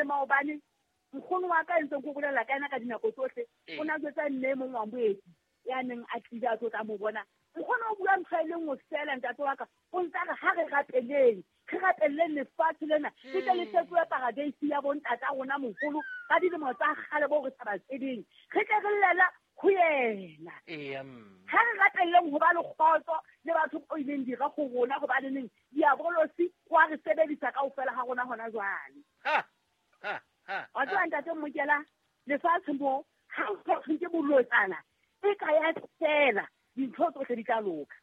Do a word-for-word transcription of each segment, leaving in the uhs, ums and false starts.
maobane nkgono wa ka ntse go bolela ka ena ka dinako tsohle o na jwetsa mme mong wa moeti ya neng a tlile a tlo tla mo bona. Nkgono o bua ntho e le nngwe fela ntate wa ka, o ntse a re ha re rapeleng, re rapeleng lefatshe lena le tle le fetohe paradeisi ya bontata rona moholo ka dilemo tsa kgale bo re sa ba tsebeng, re tle re llela ho yena. Ha re rapeleng ho ba le kgotso le batho o ileng dira go rona, hobaneneng diabolosi wa re sebedisa kaofela ha rona hona jwale. Wa tseba ntate Mokela, lefatshe mo ha o ke bolotsana e ka ya fela dintho tsohle di tla loka.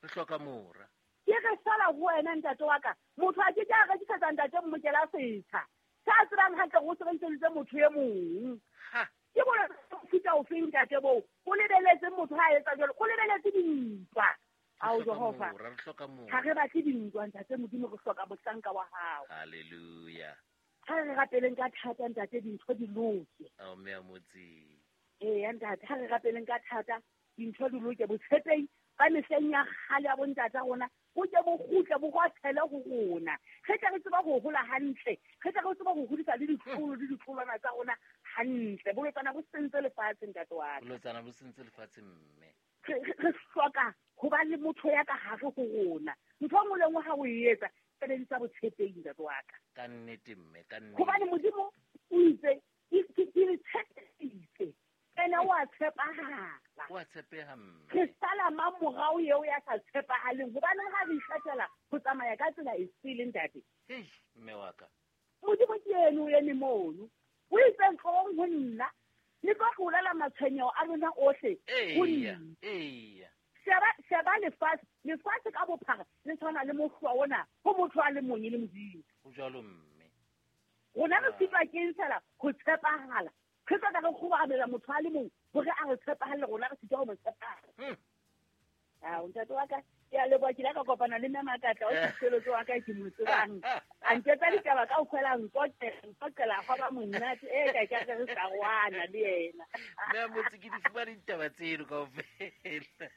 Re hloka mora. Ke re sala ho wena ntate wa ka, motho a ke ke a rekisetsa ntate Mokela setsha sa tsebang hantle go sebedisitse motho e mong. Ke bona mofuta ofeng ntate boo, o lebeletse motho ha etsa jwalo, o lebeletse dintwa. Ao Jehova, ha re batle dintwa ntate Modimo, re hloka mohlanka wa hao. Hallelujah. Ha re rapeleng ka thata ntate, dintho di loke. Ao mme a motse. Ee ntate, ha re rapeleng ka thata dintho di loke. Botshepehi ba mehleng ya kgale ya bontata rona bo ke bo kgutle bo gwathele ho rona, re tle re tseba ho hola hantle, re tle re tseba ho hodisa le ditlolo le ditlolwana tsa rona hantle. Bolotsana bo sentse lefatshe ntate wa ka. Bolotsana bo sentse lefatshe mme. Re hloka ho ba le motho ya ka hare ho rona. Ntho e nngwe le nngwe ha o e etsa, sebedisa botshepehi ntate wa ka. Ka nnete mme, ka nnete. Hobane Modimo o itse ke le tshepisitse, ena wa tshepahala. Wa tshepeha mme. Re sala mamorao eo ya sa tshepahaleng, hobane ha re ikgethela ho tsamaya ka tsela e sele ntate. Hei mme wa ka. Modimo ke eno o eme mono. O itse ntlong ho nna, le tlo tlolela matshwenyeho a lona ohle ho nna. Eya. Sheba sheba lefatshe, lefatshe ka bophara le tshwana le mohlwa ona ho motho a le mong e le Modimo. Ho jwalo mme. Rona re sitwa ke fela ho tshepahala. Re tla re kgobamela motho a le mong hore a re tshepahalle, rona re sitwa ho mo tshepahala. Ao ntate wa ka, ke a leboha, ke ile ka kopana le mme Makatla o sekeletso wa ka ke mo tsebang. A nketsa ditaba kaofela, nkoqela nkoqela hwa ba monate e ka ke re sa rwana le yena. Mme motse ke di fumane ditaba tseno kaofela.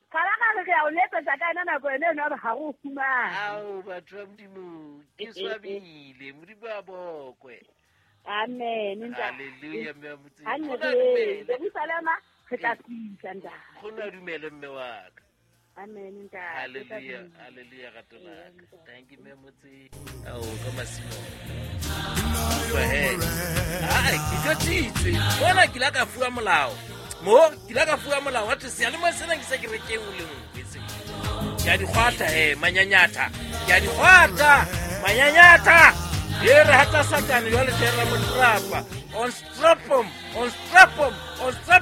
Kgala ka re re a o letsetsa ka yena nako ena eno ha re o fumane. Ao batho ba Modimo, ke swabile, Modimo a bokwe. Amen. Hallelujah mme motse. Jerusalema re tla fihla ntate. Go na dumele mme wa ka. Amen ntate. Hallelujah, hallelujah rato la ka. Thank you mme motse. Ao ka masimo. Ai, ke tlotsitswe. Bona ke la ka fuwa molao. Mo ke la ka fuwa molao wa thwe seyalemoya sena ke se ke rekeng o le nngwe se. Ke a di kgwatha he manyanyatha. Ke a di kgwatha manyanyatha. E re hata Satane jwale tle re mo trapa. On strap him, on strap him, on strap